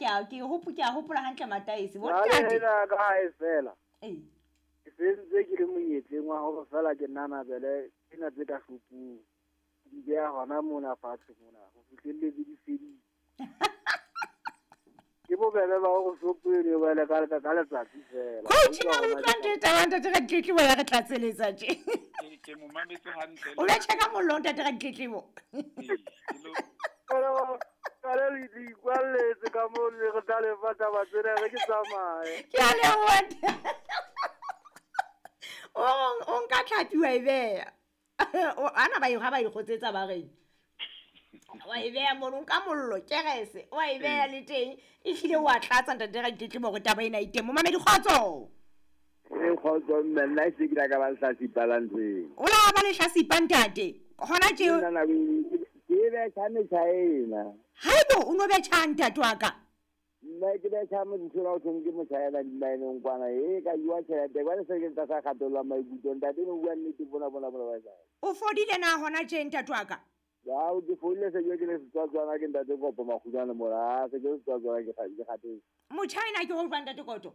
ke a ke hopo ke a hopola hantle mataese bo Jwale ntate. ena ka hae fela. Ee. Ke sentse ke le monyetleng wa hore fela ke nanabele tsena tse ka shopong. Di beha hona mona fatshe mona ho fihlelletse di fedile. Ke bobebe ba hore shopo eno e wele ka letsatsi fela. Coach na o utlwa ntho e taba ntate Ratletlebo ya re tlatseletsa tje. Ke mo mametse hantle. O betjha ka mollo ntate Ratletlebo. Ee, ke lo- Kale le di ikwalletse ka moo le re tla lefa taba tsena re ke tsamaye. Ke a leboha. O nka tlhapi wa e beha. Ana ba e ha ba e kgotsetsa ba reng. Wa e beha mono, o nka mollo, kerese, wa e beha le teng. Ehlile wa tlatsa ntate Ratletlebo hore taba ena e teng. Momamedi kgotso. E kgotso mme nna e se ke la ka ba lehlasipa la ntho eo. O la ba lehlasipa ntate. Hona tje. Nna nako e ke betjha metjhaena. Haibo o no betjha ntate wa ka. Nna ke betjha motho o thong ke motjhaena dimaeneng kwana e ka jwa tjhelete jwale se ke tlasa kgatello ya maikutlo ntate no bua nnete bona bona bona ba sa. O fodile na hona tje ntate wa ka? Ao ke fodile se ke le setswatswana ke ntate Kopo Makgutshwane mona se ke setswatswana ke kgatetse. Motjhaena ke ho jwang ntate Koto?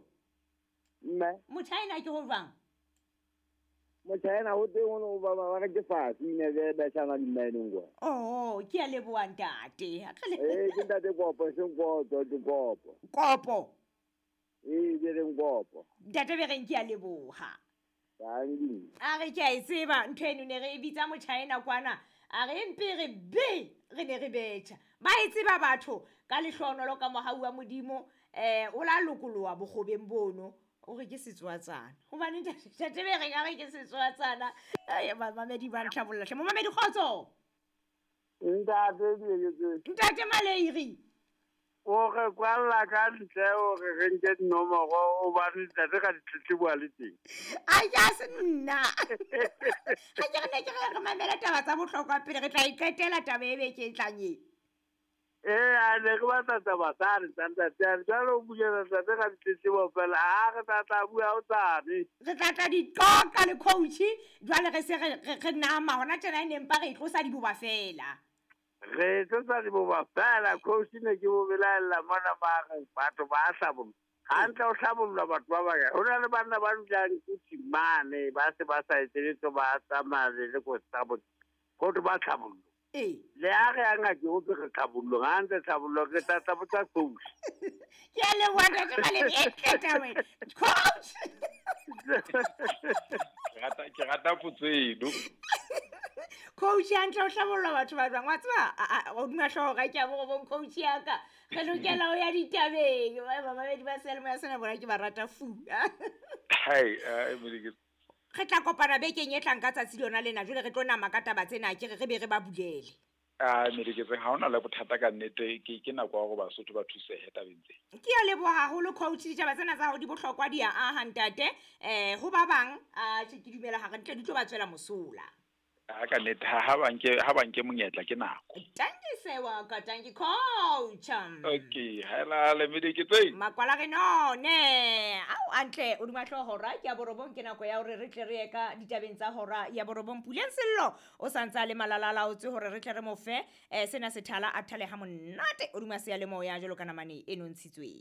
Mme Motjhaena ke ho jwang? Motjhaena ho teng o ba ba re ke fatshe ine ke betjhana dimaeneng kwana. Oh, ke a leboha ntate. Eh ke ntate Kopo seng Koto ke Kopo. Kopo. Eh ke reng Kopo. Ntate be reng ke a leboha. Tangi. A re ke a e tseba ntho eno ne re e bitsa motjhaena kwana. A re mpe re be re ne re betjha. Ba e tseba batho ka lehlohonolo ka mohau wa Modimo o la lokoloha bokgobeng bono. O re ke setswatsana. Hobane ntate be reng a re ke setswatsana. Ai mamedi ba ntlhabolla hle. Momamedi kgotso. Ntate Dieketseng. Ntate Maleiri. O re kwalla ka ntle o re re nke dinomoro hobane ntate ka ditletlebo a le teng. Ai ya se nna. Ha ke re ne ke re mamela taba tsa bohlokwa pele re tla e qetela taba e beke e tlang e. Eh a ne re batla taba tsane tsa ntate a jwale o bulela ntate ka ditletlebo fela ha re tla tla bua o tsane. Re tla tla diqoqa le coach jwale re se re nama hona tjena e neng pa re tlosa diboba fela. Re tlosa diboba fela coach ne ke bo belaella mona ba re batho ba hlabolla. Hantle o hlabolla batho ba bang. Ho na le banna ba dulang kutsi mane ba se ba sa etseletse ba tsamaya le ko tsa bo. Ho ba hlabolla. Eh. Le a re anga ke o re tlhabollo hantle tlhabollo ke tla tla botsa coach. Ke a leboha ntate Malemi e tleta wena. Coach. Ke rata potso eno. Coach hantle o hlabolla batho ba jwang wa tseba o duma hlooho ga ke a bo bong coach ya ka. Re lokela ho ya ditabeng. Ba mamedi ba seyalemoya sena bona ke ba rata fu. Hai, Modiketse. Re tla kopana bekeng e tlang ka tsatsi lona lena jwale re tlo nama ka taba tsena ke re be re ba bulele. Ah Modiketse ha ona le bothata ka nnete ke nako ya hore Basotho ba thusehe tabeng tse. Ke a leboha haholo coach ditaba tsena tsa hao di bohlokwa di a aha ntate. Ho ba bang a ke dumela hore ntle di tlo ba tswela mosola. A ka nnete ha ba nke monyetla ke nako. Tanki sewa ka tanki coach. Okay, haela le Modiketse. Makwala re none. Au antle o duma hloho hora ke ya borobong ke nako ya hore re tle re ye ka ditabeng tsa hora ya borobong. Puleng Sello o santsa le malalala o tse hore re tle re mo fe sena sethala a thale ha monate o duma seyalemoya jwalo ka namane e nontshitsweng.